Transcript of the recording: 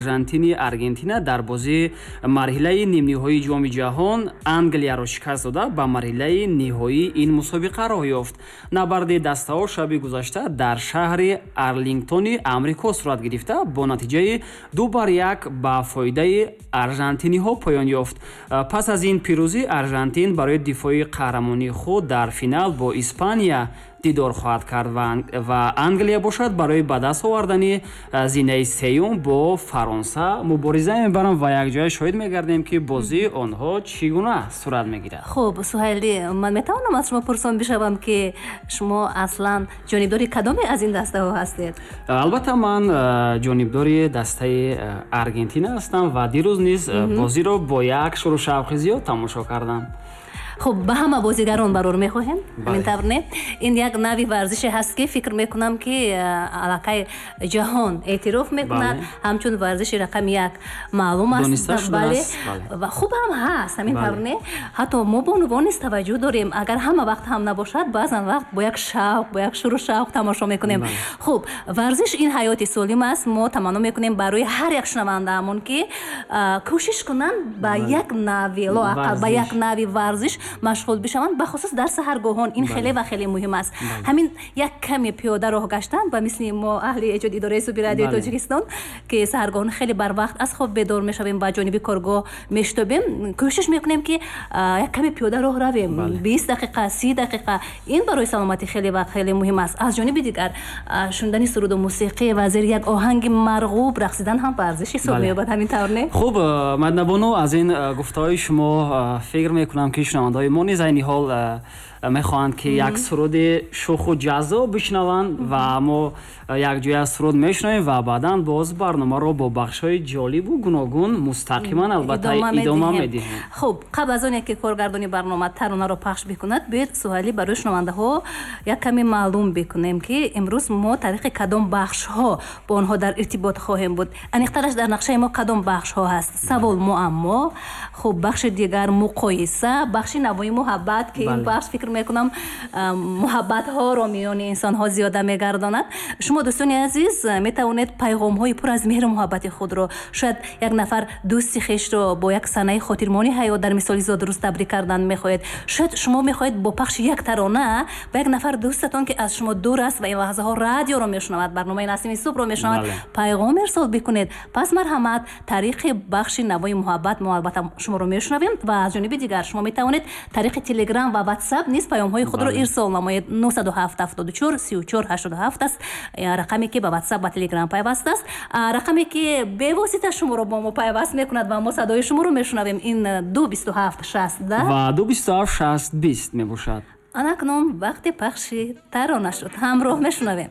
Аржантини Аргентина дар бозии марҳилаи нимниҳоии Ҷоми Ҷаҳон Англияро шикаст дода, ба марҳилаи ниҳоии ин мусобиқа роҳ ёфт. Набарди дастаҳо шаби гузашта дар шаҳри Арлингтони Амрико сурат гирифта, бо натиҷаи 2-1 ба фоидаи аржантиниҳо поён ёфт. Пас аз ин пирӯзӣ Аржантин барои дифои қаҳрамонии худ дар финал бо Испания дидор хоҳад кард ва Англия бошад, барои ба даст овардани зинаи сеюм бо Фаронса мубориза мебаранд ва якҷоя шоҳид мегардем, ки бозии онҳо чӣ гуна сурат мегирад. Хуб, Суҳайлӣ, ман метавонам аз шумо пурсон бишавам, ки шумо аслан ҷонибдори кадоме аз ин дастаҳо ҳастед? Албатта, ман ҷонибдори дастаи Аргентина ҳастам ва дирӯз низ бозиро бо як шуру шавқи зиёд тамошо кардам. Хуб, ба ҳама бозигарон барор мехоҳем, ҳамин тавр не? Ин як нави варзише ҳаст, ки фикр мекунам, ки аллакай ҷаҳон эътироф мекунад, ҳамчун варзиши рақами як маълум аст. Бале, ва хуб ҳам ҳаст, ҳамин тавр не? Ҳатто мо бонувон низ таваҷҷӯҳ дорем, агар ҳама вақт ҳам набошад, баъзан вақт бо як шавқ, бо як шуру шавқ тамошо мекунем. Хуб, варзиш ин ҳаёти солим аст. Мо таманно мекунем барои ҳар як шунавандаамон, ки кӯшиш кунанд ба як нави, лоақал ба як нави варзиш машғул бишаванд, бахусус дар саҳаргоҳон. Ин хеле ва хеле муҳим аст. Ҳамин як каме пиёда роҳ гаштан, ба мисли мо, аҳли эҷоди идораи суби Радиои Тоҷикистон, ки саҳаргоҳон хеле барвақт аз хоб бедор мешавем, ба ҷониби коргоҳ мешитобем, кӯшиш мекунем, ки як каме пиёда роҳ равем, 20 дақиқа, 30 дақиқа. Ин барои саломатӣ хеле ва хеле муҳим аст. Аз ҷониби дигар, шунидани суруду мусиқӣ ва зери як оҳанги марғуб рақсидан ҳам варзиш ҳисоб меёбад, ҳамин тавр не? Хуб, Мадинабону, аз ин гуфтаҳои шумо фикр мекунам, ки шунавандаҳои мо низ айни ҳол мехоҳанд, ки як суруди шӯху ҷаззоб бишнаванд ва мо якҷоя суруд мешунавем ва баъдан боз барномаро бо бахшҳои ҷолибу гуногун мустақиман, албатта, идома медиҳем. Хуб, қабл аз оне ки коргардони барнома таронаро пахш бикунад, биёед, Суҳайлӣ, барои шунавандаҳо як каме маълум бикунем, ки имрӯз мо тариқи кадом бахшҳо бо онҳо дар иртибот хоҳем буд. Аниқтараш, дар нақшаи мо кадом бахшҳо ҳаст? Савол, муаммо, хуб, бахши дигар муқоиса, бахши Навои муҳаббат, ки ин бахш, фикр мекунам, муҳаббатҳоро миёни инсонҳо зиёда мегардонад. Шумо, дӯстони азиз, метавонед пайғомҳои пур аз меҳру муҳаббати худро, шояд як нафар дӯсти хешро бо як санаи хотирмони ҳаёт, дар мисоли зодрӯз, табрик кардан мехоҳед, шояд шумо мехоҳед бо пахши як тарона ба як нафар дӯстатон, ки аз шумо дур аст ва ин лаҳзаҳо радиоро мешунавад, барномаи Насими субҳро мешунавад, пайғом ирсол бикунед, пас марҳамат, тариқи бахши Навои муҳаббат мо албатта шуморо мешунавем. Ва аз ҷониби дигар, шумо метавонед тариқи Телеграм ва Ватсап низ паёмҳои худро ирсол намоед. 907 74 34 87 аст рақаме, ки ба Ватсап ва Телеграм пайваст аст. Рақаме, ки бевосита шуморо бо мо пайваст мекунад ва мо садои шуморо мешунавем, ин 2 27 60 ва 2 27 60 20 мебошад. Анакнун вақти пахши тарона шуд, ҳамроҳ мешунавем.